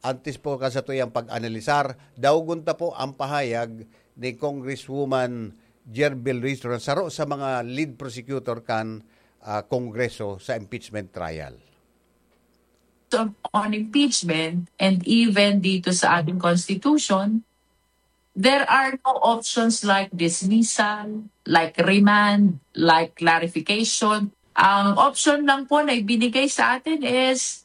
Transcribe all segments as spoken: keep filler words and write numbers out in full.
Antes po kan satuyang pag-analisar, daugon ta po ang pahayag ni Congresswoman Gerbil Ruiz Duran, saro sa mga lead prosecutor kan, ah, Kongreso sa impeachment trial. On impeachment and even dito sa ating constitution, there are no options like dismissal, like remand, like clarification. Ang option lang po na ibinigay sa atin is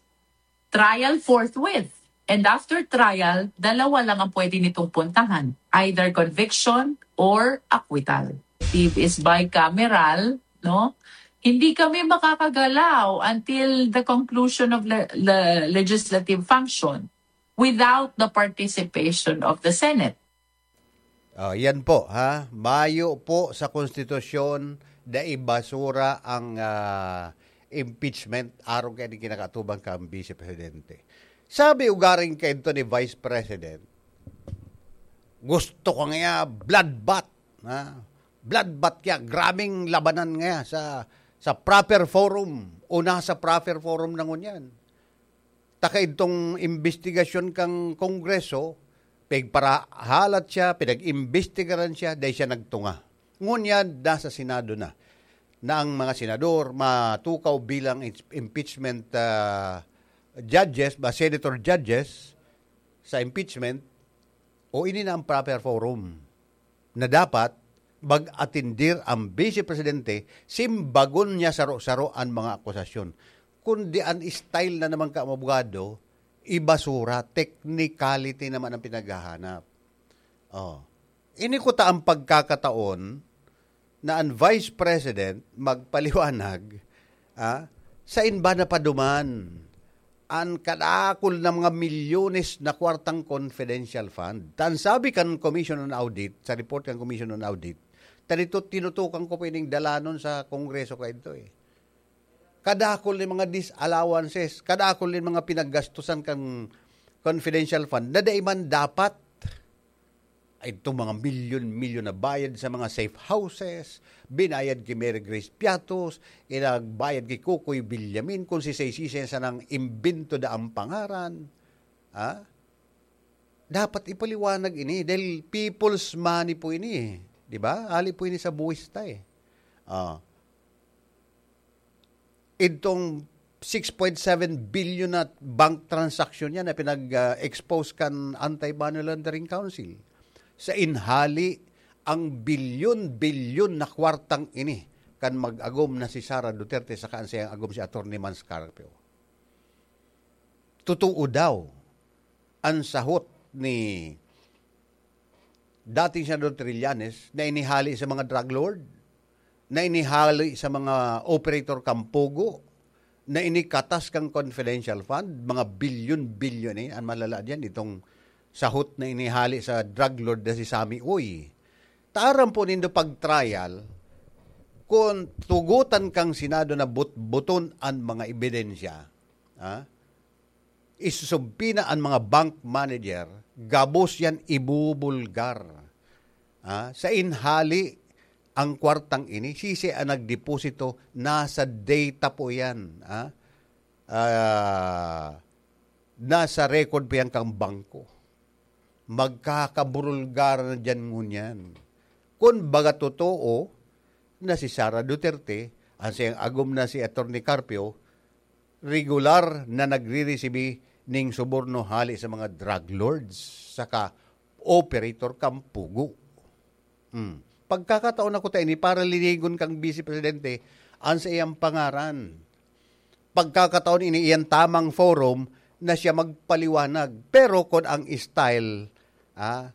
trial forthwith. And after trial, dalawa lang ang pwede nitong puntahan, either conviction or acquittal. It is bicameral, no? Hindi kami makakagalaw until the conclusion of le- le- legislative function without the participation of the Senate. Oh, yan po, ha? Mayo po sa konstitusyon na ibasura ang, ah, impeachment aron kay kinakatubang kang Vice Presidente. Sabi ugaring kaidto ni Vice President, gusto ko nga bloodbath, ha? Bloodbath kaya, grabing labanan nga sa sa proper forum o nasa proper forum na ngunyan. Taka idtong imbestigasyon kang Kongreso, pigparahalat siya, pinag-imbestigaran siya, dahil siya nagtunga. Ngunyan, nasa Senado na, na ang mga senador matukaw bilang ins- impeachment ah, judges, ba senator judges sa impeachment, o ini na ang proper forum na dapat mag-atindir ang Vice Presidente, simbagon niya saro-saro ang mga akusasyon. Kundi ang style na naman ka abogado, ibasura, technicality naman ang pinaghahanap. Oh. Ini kuta ang pagkakataon na ang Vice President magpaliwanag, ah, sa inba na paduman an kadakul na mga milyones na kwartang confidential fund. Tan sabi kan Commission on Audit, sa report kan Commission on Audit, tanito tinutukan ko pa ining dalanon sa Kongreso kaidto eh. Kadakul ni mga disallowances, kadakul ni mga pinaggastusan kan confidential fund na dai man dapat. Itong mga milyon-milyon na bayad sa mga safe houses, binayad ki Mary Grace Piatos, inagbayad ki Kukoy Villamin, kung sisay-sisay sanang imbento da ang pangaran. Ha? Dapat ipaliwanag ini dahil people's money po ini eh. Di ba? Ali po ini sa buwis ta eh. Ah. Itong six point seven billion na bank transaction niya na pinag-expose kan Anti-Money Laundering Council. Sa inhali, ang bilyon-bilyon na kwartang ini kan mag-agom na si Sara Duterte saka ang sayang agom si Attorney Mans Carpio. Totoo daw ang sahot ni dating Senador Trillanes na inihali sa mga drug lord, na inihali sa mga operator kampugo, na inikatas kang confidential fund, mga bilyon-bilyon eh, ang malala diyan, itong sahot na inihali sa drug lord na si Sammy Uy. Taram po nindo pag-trial, kung tugutan kang Senado na butbuton ang mga ebidensya, ha? Isusubpina an mga bank manager, gabos yan ibubulgar. Ah, sa inhali, ang kwartang ini, sisi ang nagdeposito, nasa data po yan. Ah, ah, nasa record po yan kang bangko. Magkakaburulgar na dyan ngunyan. Kun baga totoo na si Sara Duterte, ang siyang agom na si Attorney Carpio, regular na nagriresibi ning suborno hali sa mga drug lords saka operator kampugo. Hmm. Pagkakataon na kuta ini para linigon kang Vice Presidente ang sa iyang pangaran. Pagkakataon ini iyan tamang forum na siya magpaliwanag. Pero kung ang style, ah,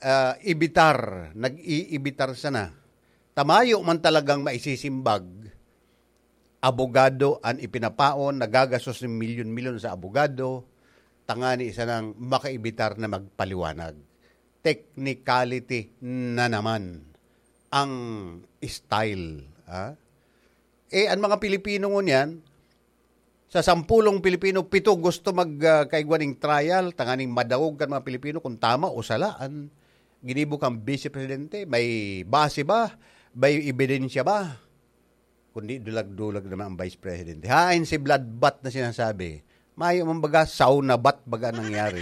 ah, ibitar, nag-iibitar sana, tamayo man talagang maisisimbag, abogado an ipinapaon, nagagastos ng milyon-milyon sa abogado, tangani sanang makaibitar na magpaliwanag. Technicality na naman ang style. Ah? Eh, ang mga Pilipino ngunyan, sa sampulong Pilipino, pito gusto mag, ah, kaigwa ning trial, tanganing madangog kan mga Pilipino kung tama o sala an ginibo kan Vice Presidente. May base ba? May ebidensya ba? Kundi dulag-dulag naman ang Vice Presidente. Hain si bloodbath na sinasabi. Mayo man baga, sauna bath baga nangyari.